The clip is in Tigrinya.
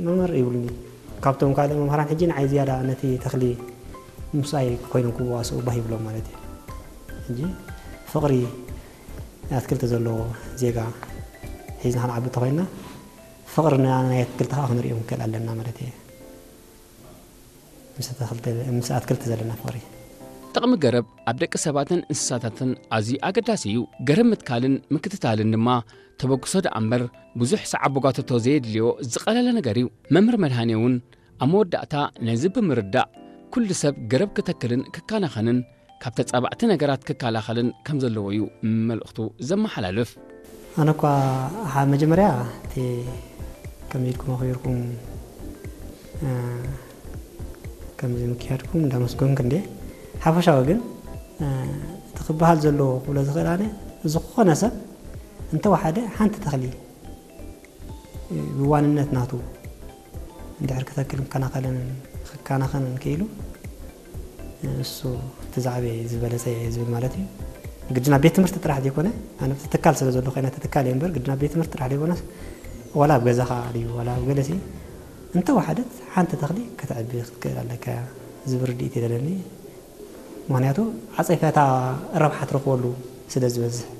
መምህር ይብሉኒ። ካብቶም ካልእ መምህራን ሕጂ ንዓይ ዝያዳ ነቲ ተኽሊ ምስኣይ ኮይኖም ክዋስኡ ባህ ይብሎም ማለት እዩ። ሕጂ ፍቕሪ ኣትክልቲ ዘለዎ ዜጋ ሒዝና ክንዓቢ እንተኾይንና፣ ፍቕሪ ናይ ኣትክልቲ ከዓ ክንሪኦም ንክእል ኣለና ማለት እዩ። ምስ ኣትክልቲ ዘለና ፍቕሪ። ጥቕሚ ገረብ ኣብ ደቂ ሰባትን እንስሳታትን ኣዝዩ ኣገዳሲ እዩ። ገረብ ምትካልን ምክትታልን ድማ ተበግሶ ደኣ እምበር ብዙሕ ሰዓብ ጓተቶ ዘየድልዮ ዝቐለለ ነገር እዩ። መምህር መድሃኔ እውን ኣብ መወዳእታ ነዚ ብምርዳእ ኩሉ ሰብ ገረብ ክተክልን ክከናኸንን ካብ ተጻባእቲ ነገራት ክከላኸልን ከም ዘለዎ እዩ መልእኽቱ ዘመሓላልፍ። ኣነ እኳ መጀመርያ እቲ ከምዚ ኢልኩም ኣኽቢርኩም ከምዚ ምክያድኩም እንዳመስገንኩ እንደ ሓፈሻዊ ግን እቲ ክበሃል ዘለዎ ክብሎ ዝኽእል ኣነ ዝኾነ ሰብ እንተወሓደ ሓንቲ ተኽሊ ብዋንነት ናቱ እንድሕር ክተክል ክከናኸልን ክከናኸንን ክኢሉ እሱ እቲ ዝዓበየ ዝበለፀ ዝብል ማለት እዩ። ግድና ቤት ትምህርቲ ጥራሕ ዘይኮነ ኣነ ትካል ስለ ዘሎ ኮይና ትካል እየ እምበር ግድና ቤት ትምህርቲ ጥራሕ ዘይኮነ ዋላ ኣብ ገዛኻ ድዩ ዋላ ኣብ ገለሲ እንተወሓደት ሓንቲ ተኽሊ ከተዕቢ ክትክእል ኣለካ ዝብል ርድኢት የለኒ። ምክንያቱ ዓፀይፈታ ረብሓ ትረክበሉ ስለ ዝበዝሕ